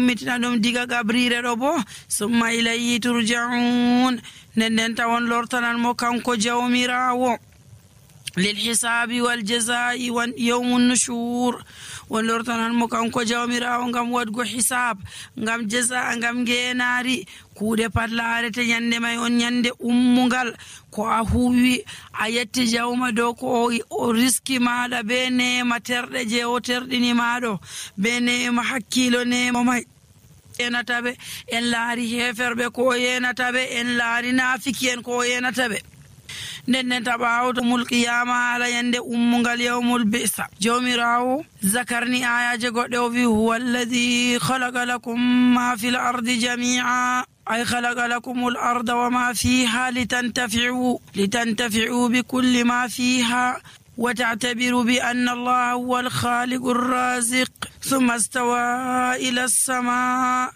ummitina ɗum diga gabrire ɗo bo summa ilayhi turja'un nden tawon lortanan mo kanko jawmirawo lil hisabi wal jazai wa yawmun nushur won lortanan mo kanko jawmirawo ngam wadgo hisab ngam jaza ngam genari kuuɗe pat laarete nyande may on nyande ummungal ko a huwi a yetti jawma dow ko o riski maɗa be nema terɗe je o terɗini maɗo be nema hakkilo nema may enataɓe en laari heferɓe ko yenataɓe en laari nafiki en ko yenataɓe nden taɓawo mulqiyama ala yande ummungal yawmul bisa jawmirawo zakarni ayaje goɗɗe o wi huwa alladi khalaqa lakum ma fil ardi jami'a ay khalaqa lakum al arda wa ma fiha litantafi'u bi kulli ma fiha وتعتبر بأن الله هو الخالق الرازق ثم استوى إلى السماء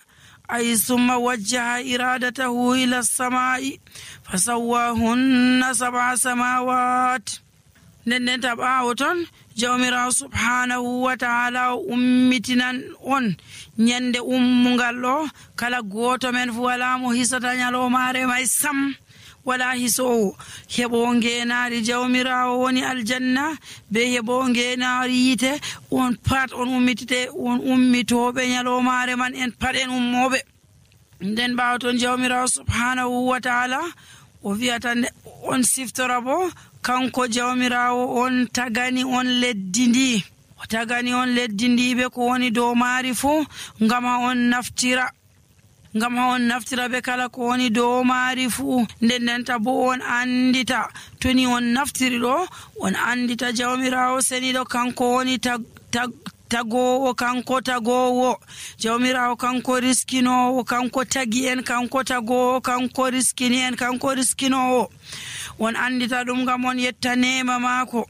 أي ثم وجه إرادته إلى السماء فسواهن 7 سماوات nden taɓawo ton jawmirawo subhanahu wa ta'ala ummitinan on nyande ummungal ɗo kala goto men fu wala mo hisata nyalomare may sam wala hisowo heɓo ngenari jawmirawo woni aljanna be heɓo ngenari yite on pat on ummitite on ummitoɓe nyalomare man en pat en ummoɓe nden ɓawa ton jawmirawo subhanahu wa ta'ala o wiyata on siftora bo kanko jawmirawo on tagani on leddi ndi o tagani on leddi ndi be ko woni dow maari fu ngam ha on naftira be kala ko woni dow maari fu ndendenta bo on andita toni on naftiri ɗo on andita jawmirawo seniɗo kanko woni tagowo kanko tagowo jawmirawo kanko riskinowo kanko tagi en kanko tagowo kanko riskini en kanko riskinowo on andita ɗum ngam on yetta nema maako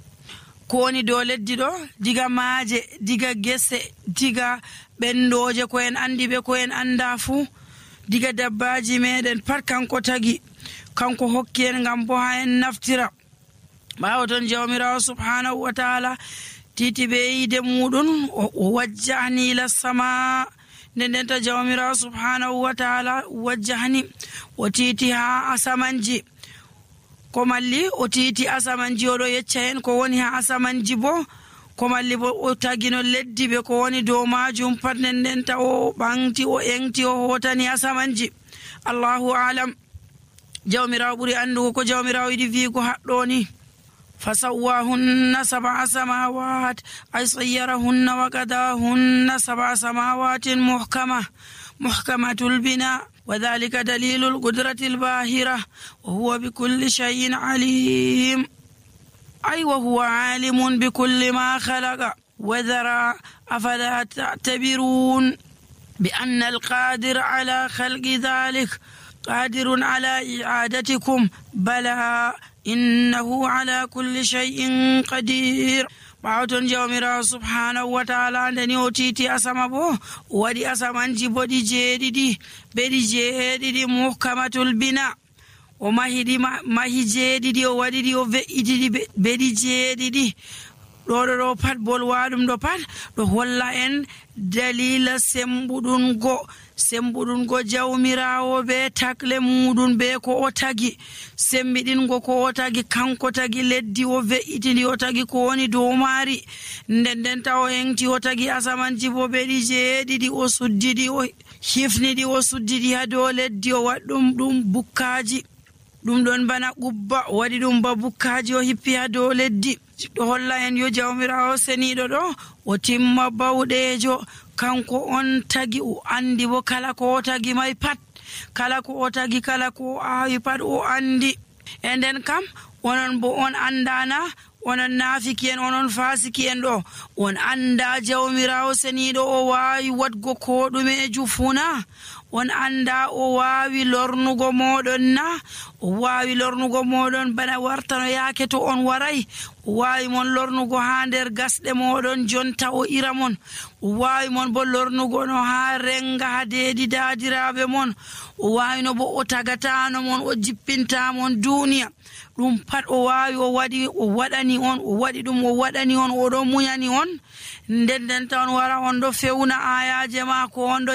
ko woni dow leddi ɗo diga maaje diga gese diga ɓendoje ko en andi ɓe ko en anda fuu diga dabbaji meɗen pat kanko tagi kanko hokki en ngam bo ha en naftira ɓawo ton jawmirawo subhanahu wa ta'ala titi ɓe yide muɗum o wajjahni ila sama ndendenta jawmirawo subhanahu wa ta'ala wajjahni o titi ha asamanji ko malli o titi asamanji oɗo yecca en ko woni ha asamanji bo ko malli bo o tagino leddi ɓe ko woni dow majum pat ndendenta o ɓanti o engti o hotani asamanji allahu alam jawmirawo ɓuri andugo ko jawmirawo yiɗi wiigo haɗɗo ni فسواهن 7 سماوات أي صيرهن وقضاهن 7 سماوات محكمة البناء وذلك دليل القدرة الباهرة وهو بكل شيء عليم أي وهو عالم بكل ما خلق وذرى أفلا تعتبرون بأن القادر على خلق ذلك قادر على إعادتكم بلى إنه على كل شيء قدير ɓawton jawmirawo subhanahu wa ta'ala ndeni o titi asama bo waɗi asamanji boɗi beɗi jeeɗiɗi muhkamatul bina o mahi jeeɗiɗi o waɗiɗi o ve'itiɗi beɗi jeeɗiɗi ɗo pat bolwaɗum ɗo pat ɗo holla en dalila sembuɗungo jawmirawo be takle muɗum be ko o tagi sembiɗingo ko o tagi kanko tagi leddi o ve'itidi o tagi ko woni dow maari ndendenta o hengti o tagi asamanji bo beɗi jeeɗiɗi o suddiɗi o hifniɗi o suddiɗi ha dow leddi o waɗɗum ɗum bukkaji ɗum ɗon bana qubba o waɗi ɗum ba bukkaji o hippi ha dow leddi ɗo holla en yo jawmirawo seniɗo ɗo o timma bawɗejo kanko on tagi o andi bo kala ko o tagi may pat kala ko o tagi kala ko o awi pat o andi e nden kam onon bo on andana onon nafiki en onon fasiki en ɗo on anda jawmirawo seniɗo o wawi wadgo ko ɗumeju funa on anda o wawi lornugo moɗon na o wawi lornugo moɗon bana wartano yaake to on waray o wawi mon lornugo ha nder gasɗe moɗon jonta o ira mon o wawi mon bo lornugo no ha renga ha deedi dadiraɓe mon o wawi no bo o tagatano mon o jippinta mon duniya ɗum pat o wawi o waɗani on o waɗi ɗum o waɗani on oɗo muñani on ndendenta on wara on ɗo fewna ayaje ma ko on ɗo